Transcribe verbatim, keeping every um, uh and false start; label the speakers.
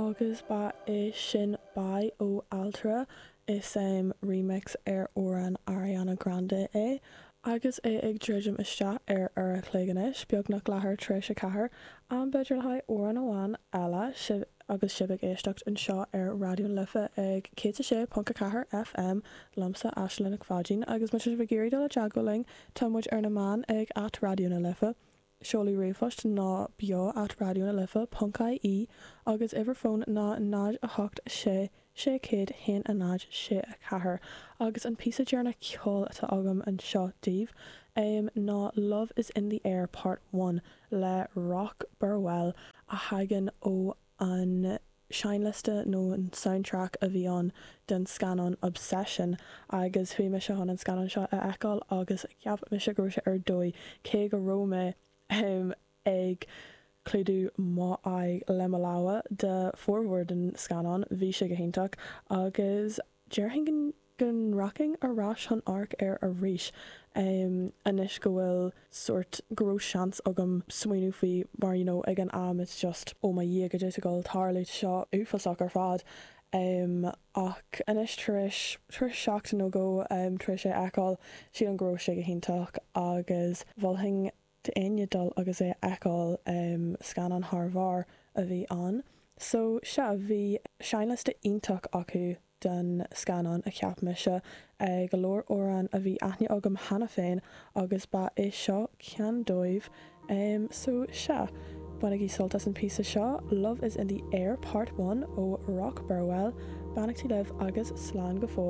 Speaker 1: Agus ba é sin Bye ó Altra is um, remix ar amhrán Ariana Grande é. Agus é ag druidim isteach ar ar a cloig anois, beagnach leathuair tar éis a ceathair, am b'fhéidir le haghaidh amhrán amháin eile sibh agus sibh ag éisteacht anseo ar Raidió na Life ag céad sé ponc a ceathair FM liomsa Aisling Nic Pháidín agus má tá sibh ag iarraidh dul i dteagmháil linn tá muid ar na meáin ag at Raidió na Life. Seoladh ríomhphost ná beo at Raidió na Life ponc IE agus uimhir fóin ná náid a hocht sé sé céad haon a náid sé a ceathair agus an píosa deireanach ceoil atá agam anseo daoibh um, ná Love is in the Air Part One le Rock Burwell a thagann ó an seinnliosta nó an soundtrack a bhí ann den scannán Obsession agus chuaigh mise chun an scannán seo a fheiceáil agus cheap mise go raibh sé ar dóigh cé go raibh mé um, ag clúdú m'aghaidh le mo lámha de formhór den scannán bhí sé go hiontach agus déarfainn go rachainn ar ais chun amharc air arís um, anois go bhfuil sort go raibh seans agam smaoineamh faoi mar you know, ag an am it's just ó mo Dhia cad é go tarlú seo uafásach ar fad. Um, ach anois tar éis tar éis seachtain nó go um, tar éis é a fheiceáil sílim go raibh sé go hiontach agus mholfainn d'éinne dul agus é a fheiceáil um, scannán thar barr a bhí ann. So sea bhí seinnliosta iontach acu den scannán a cheap mise go leor amhrán a bhí aithne agam cheana féin agus ba é seo ceann dóibh um, so sea. Bainigí sult as an píosa seo, Love is in the Air Part One ó Rock Burwell, beannachtaí libh agus slán go fóill.